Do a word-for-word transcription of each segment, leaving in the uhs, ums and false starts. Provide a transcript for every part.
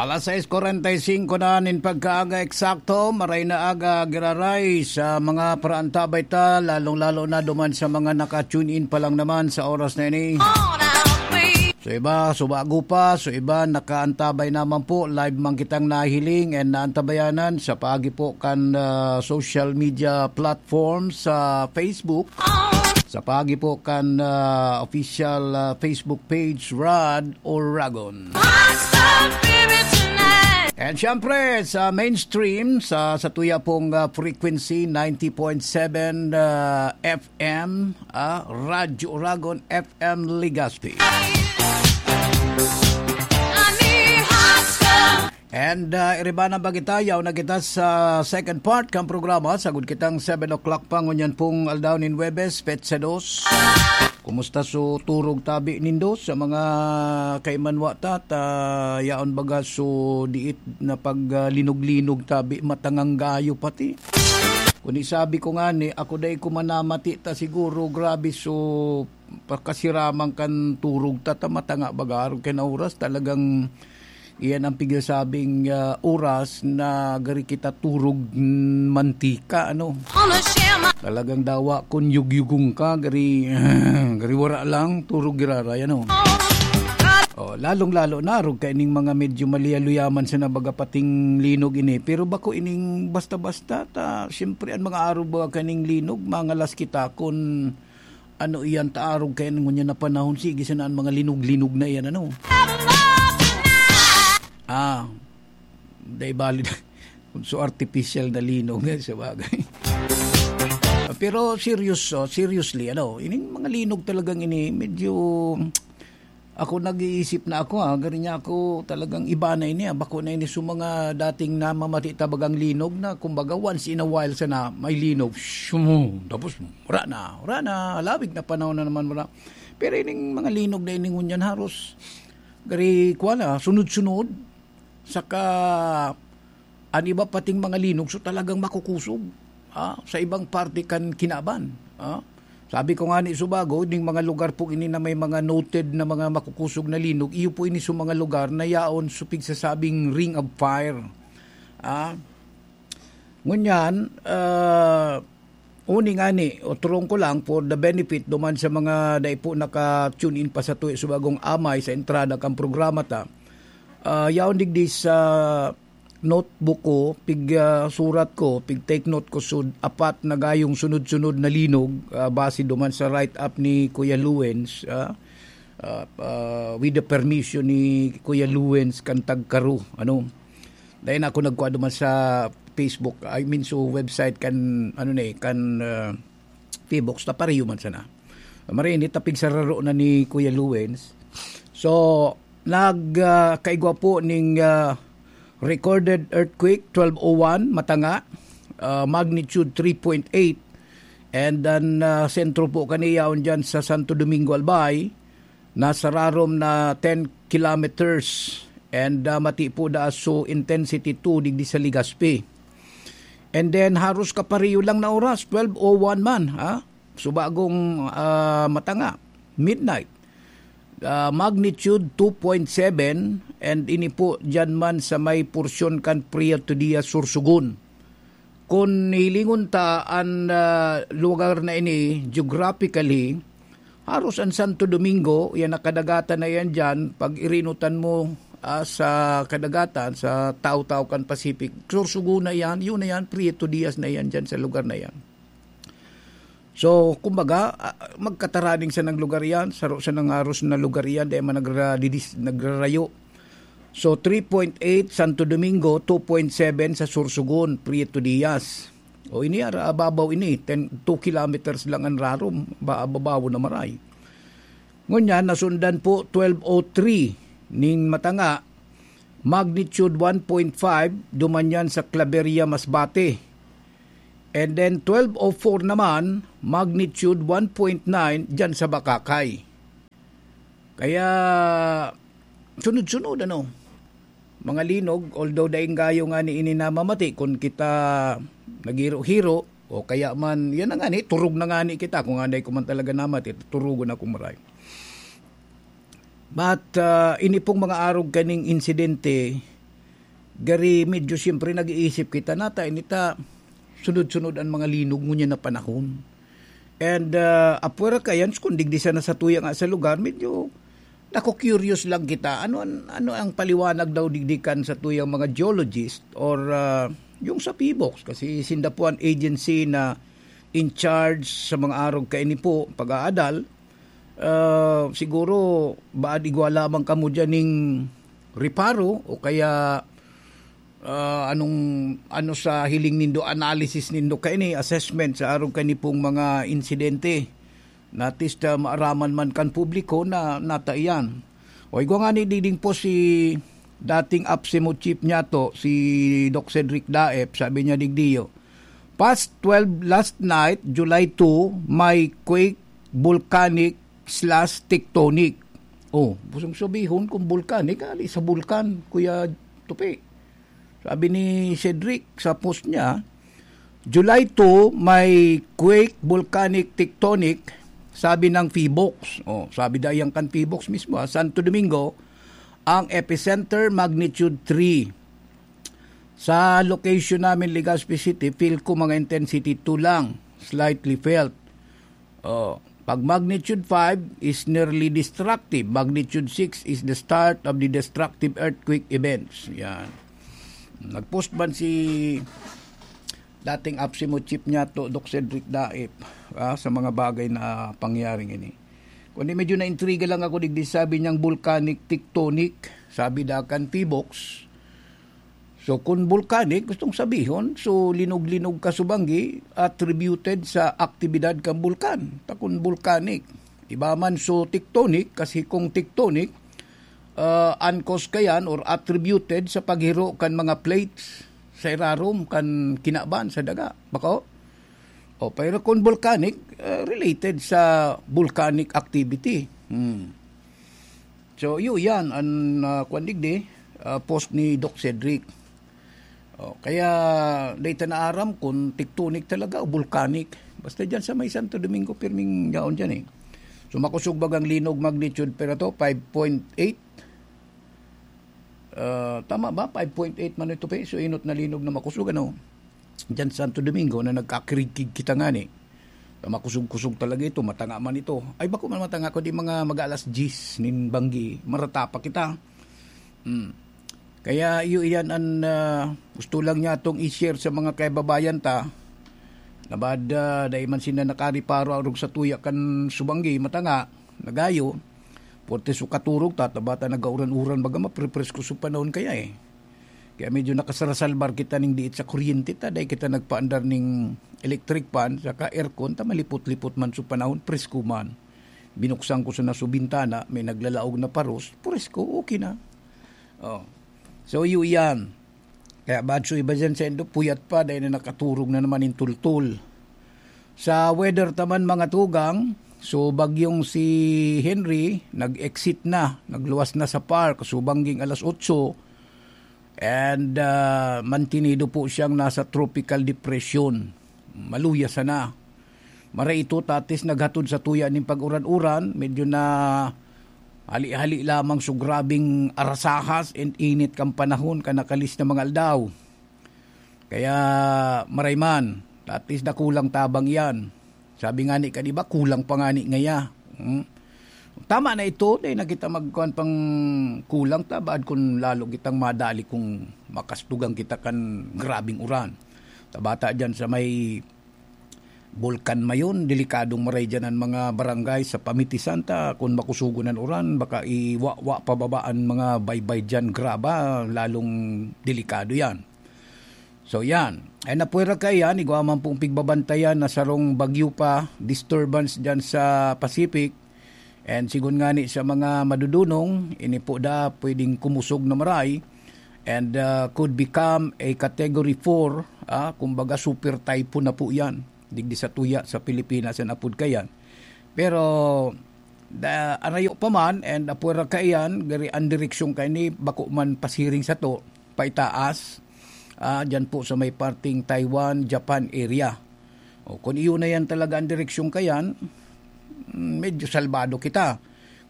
Alas sais kwarenta y singko na nin pagkaaga eksakto, maray na aga giraray sa mga paraantabay ta, lalong-lalo na duman sa mga naka-tune in pa lang naman sa oras na ini. So iba, subago pa, so iba, nakaantabay naman po, live man kitang nahiling and naantabayanan sa paagi po kan, ah, social media platform sa Facebook, sa paagi po kan, ah, official, ah, Facebook page, Rod Oragon. And syempre, sa mainstream, sa, sa tuya pong, ah, frequency, ninety point seven, ah, F M, ah, Radyo Oragon, F M Legazpi. And, ah, iriba na ba kita? Yaw na kita sa second part kan programa. Sagod kitang seven o'clock pa, ngunyan pong aldaw nin Huwebes, petsa dos. Kumusta so turog tabi nindo sa mga kaimanwa ta? Ta, yaon baga so diit na pag, ah, linog-linog tabi, matangang gayo pati. Kung isabi ko nga ni, ako dai ko manamati ta siguro, grabe so pakasiraman kan turog ta, ta matanga baga arog kay na oras talagang iyan ang pigasabing, ah, oras na gari kita turog, mm, mantika, ano. Talagang dawa kun yugyugong ka, gari, gari wara lang, turog giraray, ano. Oh, lalong-lalo na, arog kaining mga medyo maliyaluyaman sa nabaga pating linog ini. Pero bako ining basta-basta, ta, siyempre, ang mga arog baga kaning linog, mangalas kita kun ano iyan ta arog kaya ngunyan na panahon, sige sana an mga linog-linog na iyan, ano? Ah, dai bali kun so artificial na linog, eh, sa bagay. Ah, pero serious, oh, seriously, ano, ining mga linog talagang ini, medyo, ako nag-iisip na ako, ah, gari niya ako talagang iba na ini, ah, bako na ini sa mga dating namamati ta bagang linog na, kumbaga, once in a while sana may linog, shum, tapos wala na, wala na, halawig na panahon na naman, wala. Pero ining mga linog na ini ngunyan haros, gari, kuwan na, sunod-sunod, saka an iba pating mga linog, so talagang makukusog, ah, sa ibang parte kan kinaban, ah. Sabi ko nga ni subago, ding mga lugar po ini na may mga noted na mga makukusog na linog, iyo po ini sa mga lugar na yaon sa pigsasabing Ring of Fire, ah. Ngunyan, ah, uni ngani, otorong ko lang for the benefit duman sa mga dai po naka-tune in pa sa tuwi sa bagong amay sa entrada kan programa ta. Ah, yaon digdi sa notebook ko, pig, ah, surat ko, pig take note ko sud apat na gayong sunod-sunod na linog, ah, base duman sa write-up ni Kuya Luwens, ah, ah, ah, with the permission ni Kuya Luwens kan Tagkaro, ano. Dai na ako nagkuha duman sa Facebook, I mean, so website kan, ano na eh, kan, ah, P box, ta pareho man sana. Marinit, ta pigsararo na ni Kuya Luwens. So, nag, ah, kaigwa po ning, ah, recorded earthquake, twelve oh one, Matanga, ah, magnitude three point eight. And then, ah, sentro po kaniya yaon dyan sa Santo Domingo, Albay, nasa rarom na ten kilometers. And, ah, mati po da so intensity two digdi sa Legazpi. And then, haros kapareho lang na oras, twelve oh one man, ha? So, bagong, ah, Matanga, midnight. Ah, magnitude two point seven, and ini po dyan man sa may porsyon kan Prieto Diaz, Sorsogon. Kun hilingon ta an, ah, lugar na ini geographically, haros an Santo Domingo, yan nakadagatan na yan dyan, pag irinutan mo, ah, sa kadagatan, sa taw-taw kan Pacific, Sorsogon na yan, yun na yan, Prieto Diaz na yan dyan sa lugar na yan. So, kumbaga, ah, magkataraning sanang lugar yan, saro sanang haros na lugar yan, dai man nagra-, didis-, nagrarayo. So, three point eight Santo Domingo, two point seven sa Sorsogon, Prieto Diaz. O, ini ara, ababaw ini, ten, two kilometers lang an rarom, ba, ababaw na maray. Ngunyan, nasundan po, twelve oh three ning Matanga, magnitude one point five, duman yan sa Claveria, Masbate. And then, twelve oh four naman, magnitude one point nine, dyan sa Bakakay. Kaya, sunod-sunod, ano, mga linog, although daing gayo nga ni ini namamati, kun kita naghiro-hiro, o kaya man, yan na nga ni, turog na nga ni kita, kung anay ko man talaga namati, turugon ako maray. But, ah, ini pong mga arog kaning insidente, Gari medyo siyempre nag-iisip kita na ta ini ta sunod-sunod an mga linog ngunyan na panahon. And, ah, apwera kaiyan, kung digdi sana sa tuya nga sa lugar, medyo naku-curious lang kita. Ano an-, ano ang paliwanag daw digdi kan sa tuyang mga geologist or, ah, yung sa PHIVOLCS? Kasi sinda po an agency na in charge sa mga arog kaini po, pag-aadal. Ah, siguro, baad igwa lamang kamo diyan ning reparo o kaya, ah, anong, ano sa hiling nindo, analysis nindo kaini, assessment sa arog kaini pong mga insidente na at least, ah, maaraman man kan publiko na nata iyan. O igwa ngani digdi po si dating APSEMO chief niyato, si Doc Cedric Daep, sabi niya digdiyo, "Past twelve last night, July two, may quake, volcanic slash tectonic." Oh, gustong sabihon kung volcanic, ali sa bulkan, Kuya Tupi. Sabi ni Cedric sa post niya, "July two, may quake, volcanic tectonic," sabi ng PHIVOLCS. Oh, sabi daw yan kan PHIVOLCS mismo, ha, Santo Domingo, ang epicenter magnitude three. Sa location namin, Legazpi City, feel ko mga intensity two lang, slightly felt. Oh, pag magnitude five is nearly destructive, magnitude six is the start of the destructive earthquake events. Yan. Nag-post man si dating APSEMO chief niyato, Doc Cedric Daep, ah, sa mga bagay na pangyaring ini. Kundi medyo naintriga lang ako digdi, sabi niyang volcanic tectonic, sabi da kan PHIVOLCS. So, kung volcanic, gustong sabihon, so, linog-linog ka subanggi, attributed sa aktibidad kan bulkan. Ta kun volcanic. Iba man, so, tectonic, kasi kung tectonic, ah, an cause kayan or attributed sa paghiro kan mga plates sa irarom kan kinaban sa daga. Bako? O, pero kung volcanic, ah, related sa volcanic activity. Hmm. So, iyo yan, an, ah, kwan digdi, ah, post ni Doc Cedric. O, kaya, dai ta naaram kung tectonic talaga o volcanic. Basta dyan sa may Santo Domingo, pirming yaon dyan eh. So, makosog bagang linog magnitude, pero to, five point eight. Ah, tama ba? Five point eight man ito, pe. So, inot na linog na makosog, ano? Diyan sa Santo Domingo na nagkakirigkig kita ngani. Makusog-kusog talaga ito, matanga man ito. Ay, bako man matanga, kundi mga mag-aalas diyes nin banggi, marata pa kita. Hmm. Kaya iyo iyan an, ah, gusto lang niya itong i-share sa mga kaibabayan ta. Nabad, ah, dai man sila nakariparo arog sa tuya kan subanggi, matanga, nagayo. Porte so katurog ta, ta bata nagauran-uran, baga maprepresko so panahon kaya eh. Kaya medyo nakasarasalbar kita ning diit sa kuryente ta, dai kita nagpaandar ning electric fan, saka aircon, ta malipot-lipot man so panahon, presko man. Binuksan ko sana so bintana, may naglalaog na paros, presko, okay na. Oh. So, iyo iyan. Kaya baad so iba dyan sa indo, puyat pa, dahil na nakaturog na naman yung tultul. Sa weather taman, mga tugang, so bagyong si Henry, nag-exit na, nagluwas na sa park, so bangging alas otso, and, ah, mantinido po siyang nasa tropical depression. Maluya sana. Maray ito, tatis naghatod sa tuya nin pag-uran-uran, medyo na hali-hali lamang so grabing arasahas and init kan panahon kan nakalis na mga aldaw. Kaya maray man, tatis na kulang tabang iyan. Sabi nga ni, ka, di ba, kulang pa nga ni ngaya. Hmm? Tama na ito, dahil na kita magkuhan pang kulang ta, baad kung lalo kitang madali kung makastugan kita kan grabing uran. Tabata dyan sa may Bulkan Mayon, delikadong maray dyan an mga barangay sa pamitisan ta kun makusugon an uran, baka iwawa pababa an mga baybay dyan, graba, lalong delikado yan. So yan, ay napwera kaiyan, igwa man pong pigbabantayan na sarong bagyo pa, disturbance dyan sa Pacific, and sigon ngani sa mga madudunong, ini po da pwedeng kumusog na maray, and, ah, could become a category four, ah, kumbaga super typhoon na po yan. Digdi sa tuya sa Pilipinas an apod kayan. Pero, da, arayo pa man, and apwera kaiyan, gari ang direksyon kaini, bako man pasiring sato, paitaas, ah, dyan po sa may parting Taiwan, Japan area. O, kung iyo na yan talaga ang direksyon kayan, mm, medyo salbado kita.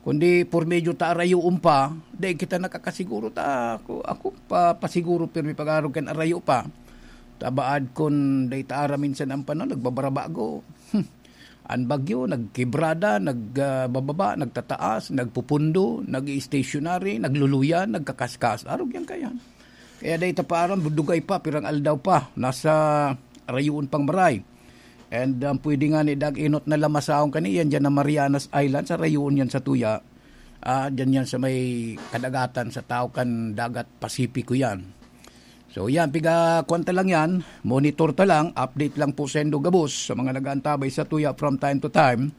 Kundi por medyo ta arayoon pa, dai kita nakakasiguro ta, ako, ako pa, pasiguro pirmi pag-arog kan arayo pa. Tabaad kun dai ta aram minsan ang panon, nagbabarabago. An bagyo, nagkibrada, nag, ah, bababa, nagtataas, nagpupundo, nag-i-stationary, nagluluya, nagkakaskas. Arog yan kayan. Kaya dai ta pa aram, budugay pa, pirang aldaw pa, nasa rayoon pang maray. And, um, pwede nga ni dag inot na lamasahon kani yan dyan na Marianas Island, sa rayoon yan sa tuya. Ah, dyan yan sa may kadagatan, sa tao kan dagat Pasipiko yan. So yan, piga kwan ta lang yan, monitor ta lang, update lang po sa indo gabos, sa mga nag-aantabay sa tuya from time to time.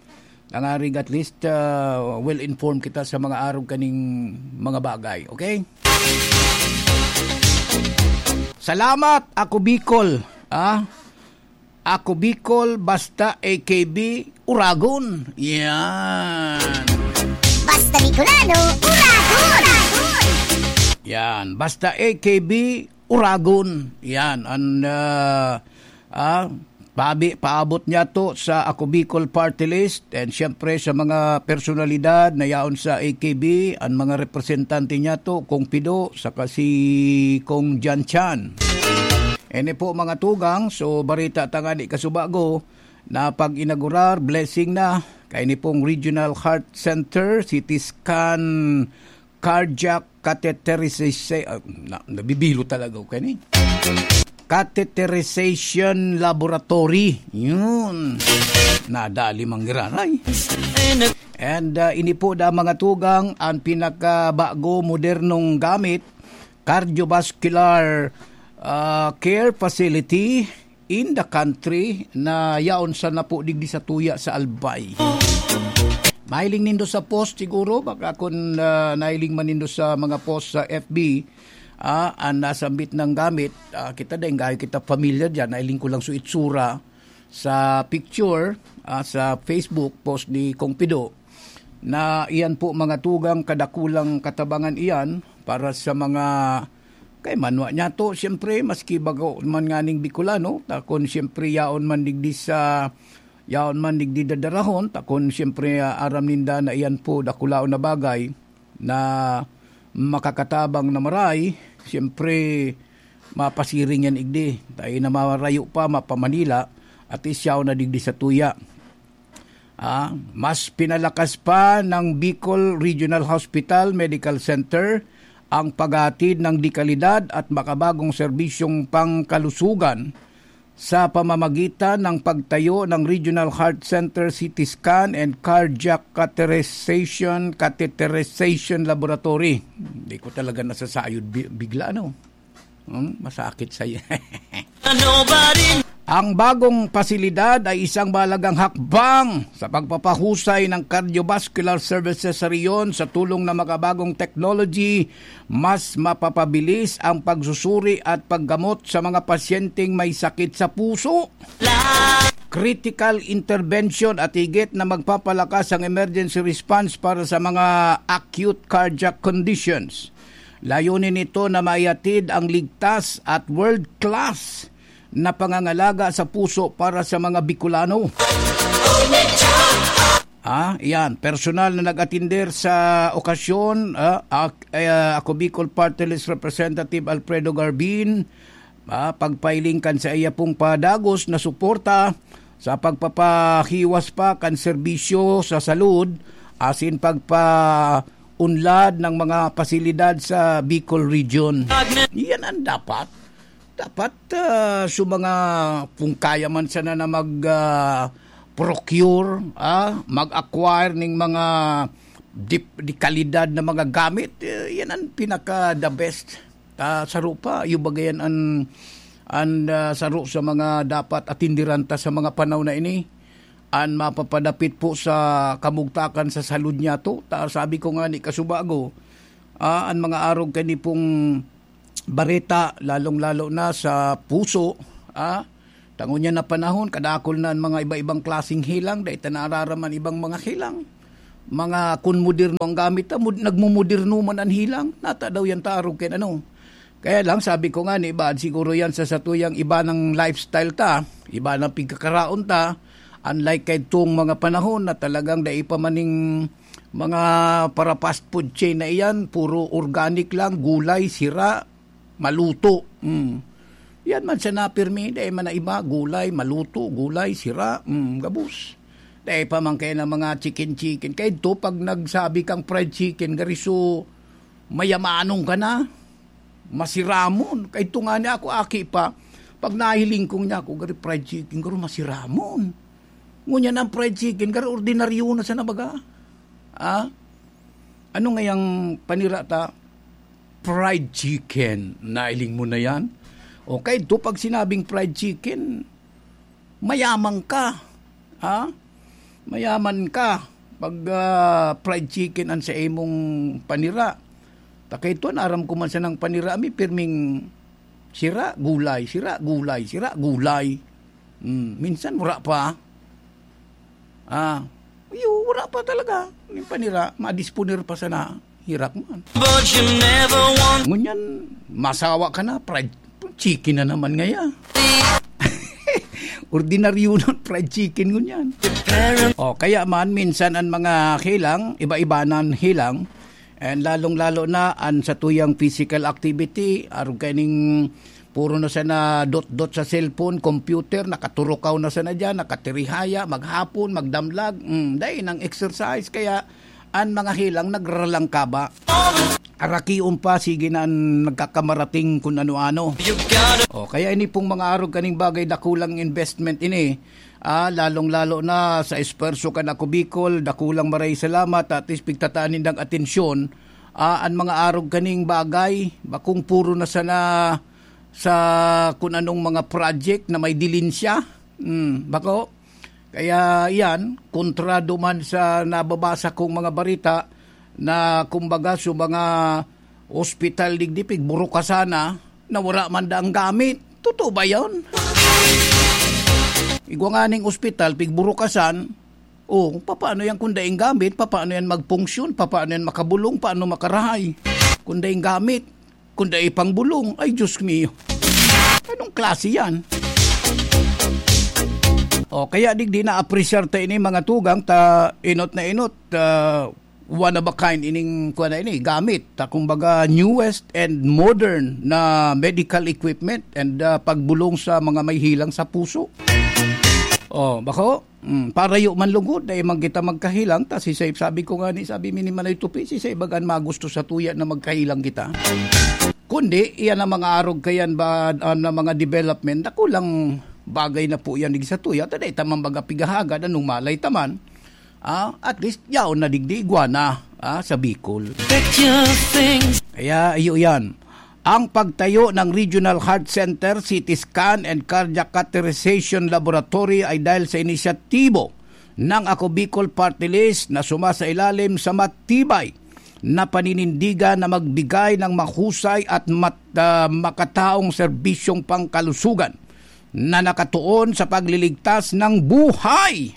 Nangarig at least, ah, well informed kita sa mga arog kaning mga bagay, okay? Salamat, ako Bicol, ah. Ako Bicol, basta A K B, Uragon. Yan. Basta Bicolano, Uragon! Yan. Basta A K B, Uragon. Yan. An, ah, ah, pabi, paabot niya to sa Ako Bicol Party List and siyempre sa mga personalidad na yaon sa A K B, ang mga representante niya to, Kong Pido, saka si Kong Jan Chan. Ini po, mga tugang, so barita ta nga di kasubago na pag-inaugurar, blessing na, kay ni pong Regional Heart Center, C T scan, cardiac catheterization, ah, na, nabibilo talaga ako kani. Catheterization Laboratory. Yun. Nadali manggiraray. And, ah, ini po da mga tugang ang pinakabago modernong gamit, cardiovascular, ah, care facility in the country na yaon sana po digdi sa tuya sa Albay. Mahiling nindo sa post siguro, baka kun, ah, nahiling man nindo sa mga post sa F B, ah, ang nasambit ng gamit, ah, kita din, gayo kita familiar dyan, nahiling ko lang sa itsura sa picture, ah, sa Facebook post ni Kong Pido, na iyan po mga tugang kadakulang katabangan iyan para sa mga kay manwa niya to, siyempre, maski bago man nganing Bicolano, ta kun siyempre yaon man digdi sa, yaon man digdi dadarahon, ta kun siyempre, ah, aram ninda na iyan po dakulaon na bagay na makakatabang na maray, siyempre, mapasiring yan igdi. Tayo na marayo pa, mapa-Manila, at isyaw na digdi sa tuya. Ah, mas pinalakas pa ng Bicol Regional Hospital Medical Center ang paghatid ng dekalidad at makabagong serbisyong pangkalusugan sa pamamagitan ng pagtayo ng Regional Heart Center C T Scan and Cardiac Catheterization, Catheterization Laboratory. Hindi ko talaga nasasayod bi-, bigla, ano? Hmm, masakit sa Ang bagong pasilidad ay isang mahalagang hakbang sa pagpapahusay ng cardiovascular services sa rehiyon. Sa tulong ng makabagong technology, mas mapapabilis ang pagsusuri at paggamot sa mga pasyenteng may sakit sa puso, critical intervention at higit na magpapalakas ang emergency response para sa mga acute cardiac conditions. Layunin nito na maihatid ang ligtas at world-class na pangangalaga sa puso para sa mga Bicolano. Ah, iyan, personal na nag-atinder sa okasyon, ah, ak-, eh, ako Bicol Party List Representative Alfredo Garbin, ah, pagpailing kan sa iya pong padagos na suporta sa pagpapahiwas pa kan serbisyo sa salud, asin pagpaunlad ng mga pasilidad sa Bicol Region. Iyan ang dapat. Dapat, ah, sa mga, kung kaya man sana na mag, ah, procure, ah, mag-acquire ning mga dip-, di kalidad na mga gamit, eh, yan ang pinaka the best. Ah, saro pa, yung bagay yan ang, ang, ah, saro sa mga dapat atindiran ta sa mga panahon na ini. An mapapadapit po sa kamugtakan sa salud niya to. Ta, sabi ko nga ni kasubago, ah, an mga arog kani pong bareta, lalong-lalo na sa puso, ah, tangon niya na panahon, kadakol na an mga iba-ibang klaseng helang, dai ta naararaman ibang mga helang. Mga kun moderno ang gamit, ah, mod-, nagmomoderno man an helang, nata daw yan ta arog kay ano. Kaya lang, sabi ko nga ni Bad, siguro yan sa satuyang iba ng lifestyle ta, iba ng pigkakaraon ta, unlike kay itong mga panahon na talagang dai pa maning Mga para fast food chain na iyan, puro organic lang, gulay, sira, maluto. Mm. Yan man sana pirmi, dai man na iba, gulay, maluto, gulay, sira, mm, gabos. Dai pa man kaya ng mga chicken-chicken. Kaya ito, pag nagsabi kang fried chicken, gariso, mayamanong ka na, masiramon. Kaya ito nga niya ako, aki pa, pag nahiling kong niya ako, gari fried chicken, garo masiramon. Ngunyan ang fried chicken, garo ordinaryo na sa nabaga. Ah? Ano ngayang panira ta? Fried chicken. Nailing mo na yan? O kaya ito, pag sinabing fried chicken, mayaman ka. Ha? Mayaman ka. Pag ah, fried chicken ang sa imong panira. Takay ito, aram ko man sanang panira, may pirming sira, gulay, sira, gulay, sira, gulay. Hmm, minsan wala pa. Ah, iyo, wala pa talaga. Yung panira, madisponer pa sana. Hirak man. But you never want Ngunyan, masawa ka na, fried chicken na naman ngaya. Ordinaryo nun, fried chicken ngunyan. O, kaya man, minsan ang mga hilang, iba-iba na ang hilang, and lalong-lalo na ang sa tuyang physical activity, arog kaining puro na sana dot-dot sa cellphone, computer, nakaturukaw na sana dyan, nakatirihaya, maghapon, magdamlag, mm, dai nang exercise, kaya an mga hilang nagraralangkaba. Arakion pa, sige na an nagkakamarating kun ano-ano. O, kaya ini pong mga arog kaning bagay, dakulang investment ini. Ah, lalong-lalo na sa esfuerso kan Ako Bicol, dakulang maray salamat, at least pigtataan nindang atensyon. Ah, an mga arog kaning bagay, bakong puro na sana sa kun anong mga project na may dilinsya. Hmm, bako? Kaya yan, kontrado man sa nababasa kong mga barita na kumbaga sa mga ospital digdi, pigburukasan na, na wala man daang gamit. Totoo ba yun? Igwa nga ning ospital, pigburukasan, o, papaano yan kung daing gamit? Papaano yan magpunksyon? Papaano yan makabulong? Paano makarahay? Kung daing gamit, kung dai pang bulong, ay Diyos mio. Anong klase yan? O, kaya digdi na-appreciate ta ini, mga tugang, ta inot na inot, ah, one of a kind ining, kuwan na ini, gamit. Ta, kumbaga, newest and modern na medical equipment and, ah, pagbulong sa mga may hilang sa puso. O, bako? Mm, parayo man lugod, dai man kita magkahilang, ta si Saib, sabi ko nga ni, sabi mi ni Manay Tupi, si Saib baga an magusto sa tuya na magkahilang kita. Kundi, iyan ang mga arog kayan ba, ah, na mga development, dakulang bagay na po yan digdi sa tuya, ta dai ta man baga pigahagad, anong malay ta man. Ah, at least, yaon na digdi, igwa na, ah, sa Bicol. Pack your things. Kaya, iyo yan. Ang pagtayo ng Regional Heart Center, C T Scan and Cardiac Catheterization Laboratory ay dahil sa inisyatibo ng Ako Bicol Party List na sumasailalim sa matibay na paninindigan na magbigay ng mahusay at mat-, ah, makataong serbisyong pangkalusugan na nakatuon sa pagliligtas ng buhay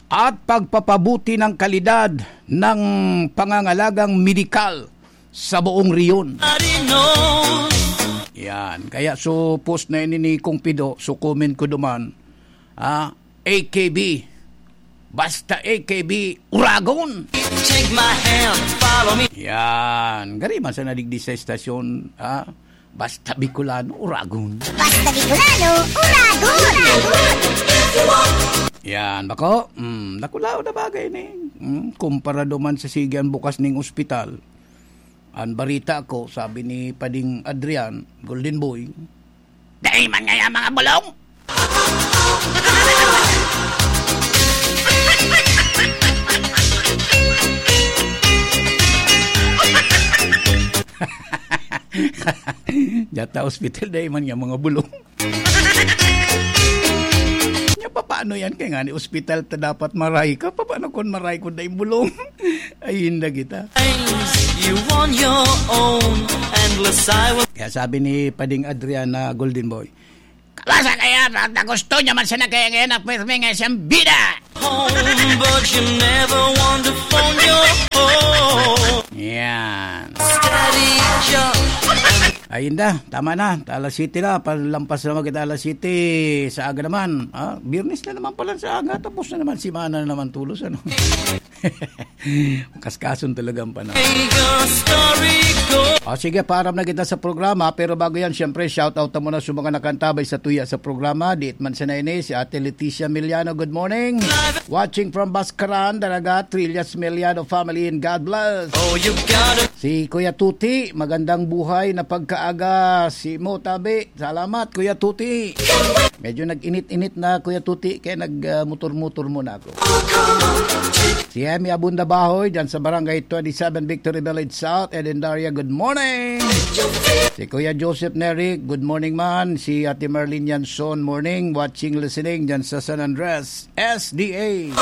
at pagpapabuti ng kalidad ng pangangalagang medikal sa buong rehiyon. Yan. Kaya so post na ini ni Kong Pido, so comment ko duman, ah, A K B. Basta A K B, Uragon! Take my hand, follow me. Yan. Gari man sa nadigdi sa estasyon, ah, basta Bicolano, Uragon. Basta Bicolano, Uragon! Yan, bako? Mm, nakulaw na bagay ni. Mm, kumpara duman sa sige an bukas ning ospital. An barita ko, sabi ni Pading Adrian, Golden Boy, "Dai man ngaya mga bulong!" Diyata ospital, dai man nga mga bulong. Nya, papaano yan? Kaya nga ni ospital ta dapat maray ka. Papaano kung maray kung dai bulong? Ay, hinda kita. You on your own, endless I will Kaya sabi ni Pading Adrian na Golden Boy, "Kabasa kaya na, na gusto niya man sana kaya ngayon na pirmi nga siyang bida." Home, but you never want to phone your home. Yan. Steady jump. Ayun na, tama na. Alas siyete na, palampas naman kita alas siyete sa aga naman. Ah, Biyernes na naman pala sa aga, tapos na naman, simana na naman tulos, ano? Kaskason talaga ang panahon. O sige, paaram na kita sa programa, pero bago yan, siyempre, shout out ta muna sa mga nakantabay sa tuya sa programa. Diit man sa naini, si Ate Leticia Miliano, good morning. Watching from Bascaran, Daraga, Trillas Miliano family, and God bless. Si Kuya Tuti, magandang buhay na pagkaaga. Si mo, tabi. Salamat, Kuya Tuti. Medyo nag-init-init na, Kuya Tuti, kaya nag-motor-motor muna ako. Si Emmy Abunda Bahoy, dyan sa Barangay twenty-seven Victory Village South, Eden Daria, good morning. Si Kuya Joseph Neri, good morning man. Si Ate Marlene Yanson, morning, watching, listening, dyan sa San Andres, S D A.